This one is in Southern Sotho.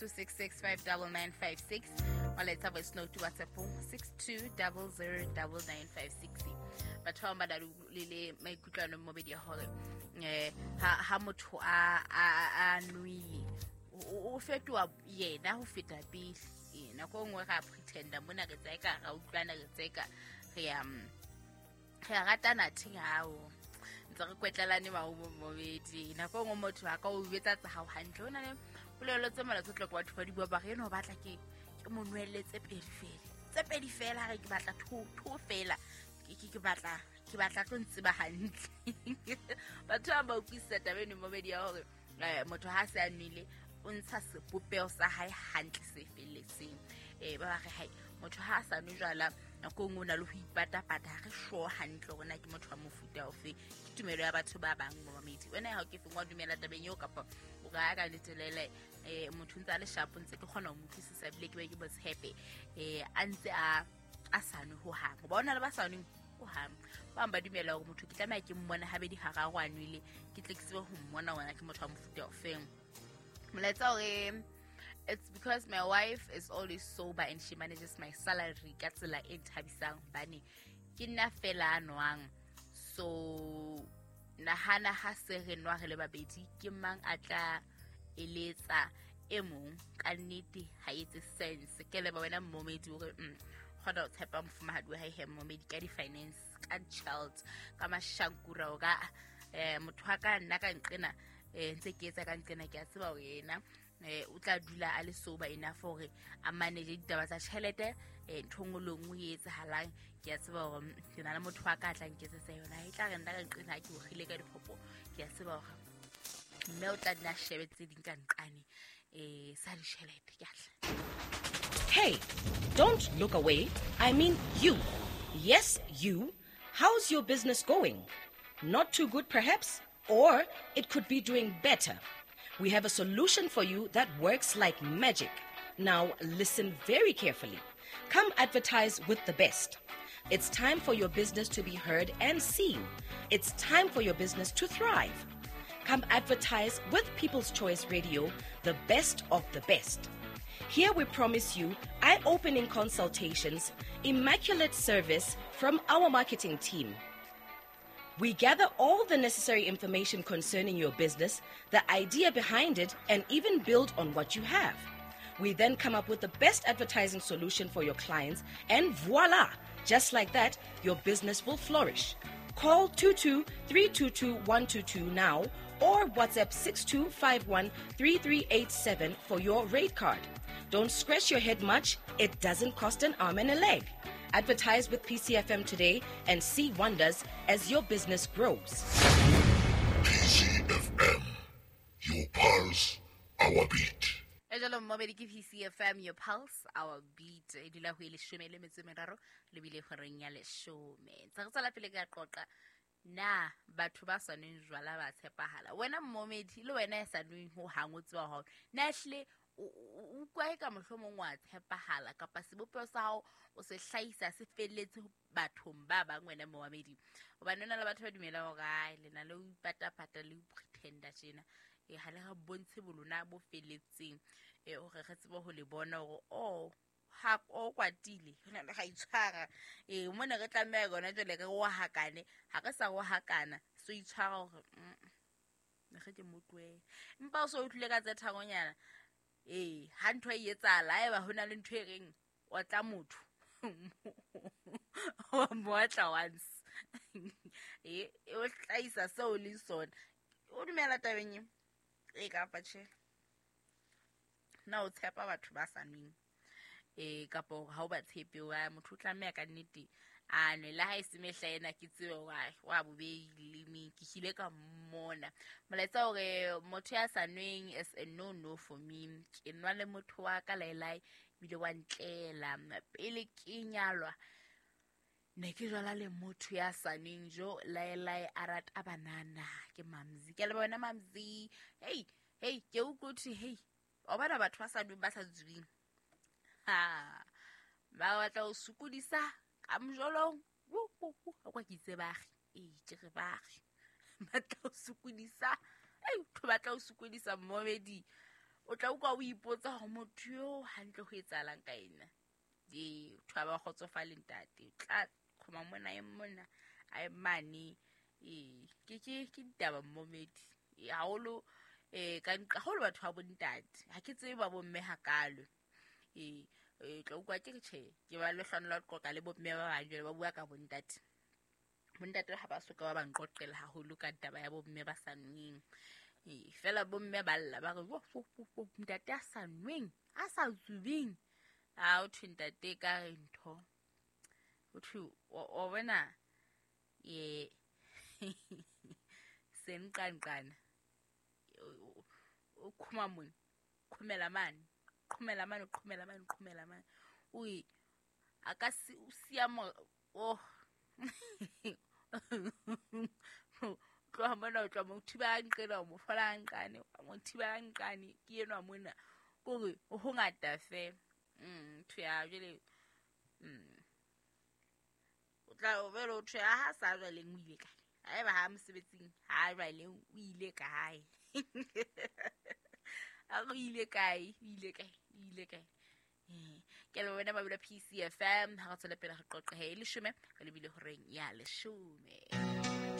266 59956. Molaetsa voice note WhatsAppong 62009956. Batho ba bang ba na le maikutlo ano mobedi ya hore ha motho a nwele o fetoha yena ho feta pele. Nako e nngwe re a pretenda mona, re tseka ra utlwana, re tseka re a ratana, thing hao ntse re kwetlelane mobedi. Nako e nngwe motho a ka o betsa tsa hao hantle. Ho na le polelo tse mala tse tlo ke batho ba di bua, ba re eno o batla ke mo nwelle tse pedi fela, tse pedi fela, ha re ke batla two fela, ke batla tlo ntseba hantle. Batho ba ba utlwisisa taba eno mobedi ya hore motho ha se a nwele o ntsha sebopeho sa hae hantle se felletseng. Ba ba re hai motho ha a sa nwe jwala, nako e nngwe o na le ho ipatapata, ha re sure hantle hore na ke motho wa mofuta ofe. Ke tumelo ya batho ba bang momamedi. Wena ha o ke feng wa dumela tabeng eo, kapa o ka ka letelele motho ntse a le sharp, ntse ke kgona ho mo utlwisisa ebile ke be ke mo tshepe a ntse a sa nwe hohang? Hoba ho na le ba sa nweng hohang, ba bang ba dumela hore motho ke tlameha ke mmone habedi hararo a nwele, ke tle ke tsebe ho mmona wena ke motho wa mofuta ofeng. Molaetsa hore it's because my wife is always sober and she manages my salary ka tsela e nthabisang, hobane ke nna fela a nwang. So nahana ha se re nwa re le babedi, ke mang a tla eletsa e mong? Ka nnete ha etse sense. Ke leba wena mmomedi hore kgona ho tshepa mofumahadi wa hae he mmomedi ka di-finance, ka child, ka mashankura o ka motho wa ka nna ka nqena ntse ke etsa ka nqena, ke a tseba hore yena o tla dula a le sober enough hore a manage ditaba tsa tjhelete. Ntho nngwe le nngwe e etsahalang, ke a tseba hore ke na le motho wa ka a tla nketsetsa yona. E tla re nna ka nqena ha ke okgile ka dikgopo, ke a tseba hore mme o tla nna a shebe tse ding ka nqane sa ditjhelete. Ke atla. Hey, don't look away. I mean you. Yes, you. How's your business going? Not too good, perhaps? Or it could be doing better. We have a solution for you that works like magic. Now, listen very carefully. Come advertise with the best. It's time for your business to be heard and seen. It's time for your business to thrive. Come advertise with People's Choice Radio, the best of the best. Here we promise you eye opening consultations, immaculate service from our marketing team. We gather all the necessary information concerning your business, the idea behind it, and even build on what you have. We then come up with the best advertising solution for your clients, and voila! Just like that, your business will flourish. Call 22 322 122 now or WhatsApp 6251 3387 for your rate card. Don't scratch your head much, it doesn't cost an arm and a leg. Advertise with PCFM today and see wonders as your business grows. PCFM, your pulse, our beat. E jalo mmobedi, ke PCFM, your pulse, our beat. E dula ho e 13 lebile horeng ya 10. Ntse re tswela pele ka qoqa na batho ba sa nweng jwala ba tshepahala. Wena mmomedi, le wena ya sa nweng ho hang, o tseba hore na ehlile o utlwa e ka mohlomong wa tshepahala, kapa sebopeho sa hao o se hlahisa se felletse bathong ba bang, wena momamedi? Hobane ho na le batho ba dumelang hore ai, le na le ho ipatapata le ho pretenda tjena, ha le re bontshe bolona bo felletseng hore re tsebe ho le bona hore o ha o kwatile re na le ga itshwara. Mona re tlameha gona jwale re rohakane, ha re sa rohakana so itshwara hore re ke mo tlohele, empa o so utlwile ka tse tharonyana. Ha ntho e etsahala, haeba ho na le ntho e reng otla motho wa mo otla once, o hlahisa seo o leng sona. O dumela tabeng eo e kapa tjhe? Na o tshepa batho ba sa nweng kapa hore ha o ba tshepe, wa motho o tlameha ka nnete a nwe, le ha e se mehla ena ke tsebe hore wa bobedi ke hlile ka mmona? Molaetsa hore motho ya sa nweng is a no no for me. Ke nwa le motho wa ka laelae ebile wa ntlela. Pele ke nyalwa ne ke jwala le motho ya sa nweng jo laelae, a rata banana. Ke Mamzi, ke a leboha wena Mamzi. Hey hey, ke utlwe thwe hey, wa bona batho ba sa nweng, ba sa tsubing, ha ba batla ho sokodisa ka mojolong kwa ke itse bagi ee, ke re bagi batla ho sokodisa, ei, batho batla ho sokodisa mmomedi. O tla utlwa o ipotsa hore motho yo hantle ho etsahalang ka ena. Ee, batho ha ba kgotsofale ntate. O tla qhoma mona e mona a e mane. Ee, ke ditaba mmomedi. Haholo ka nqa haholo batho ba bontate. Ha ke tsebe ba bomme hakalo. Ee, tla utlwa ke re tjhe, ke ba lehlohonolo la ho qoqa le bomme ba bang jwale ba bua ka bontate. Bontate ha ba soka ba ba nqoqela haholo ka taba ya bomme ba sa nweng. Ee, fela bomme ba lla ba re wo wo wo ntate a sa nweng, a sa tsubeng. A o thwe ntate ka re ntho. O thwe o bona ye senqanqana. O khuma mona, qhomela mane, qhomela mane, qhomela mane, qhomela mane. Oi a ka si o siya mo oh. Tloha mona o tloha mo thiba nqena o mo fola nqane, mo thiba nqane ke enwa mona. Kore ho ngata fe. Ntho ya jwale o tla o bele o thwe ha sa jwaleng o ile kae? Haeba ha mosebetsing ha jwaleng o ile kae? A o ile kae? O ile kae? O ile kae? Ke le wena Mabelo PCFM ha re tswela pele re qoqe he 10 re lebile horeng ya 10.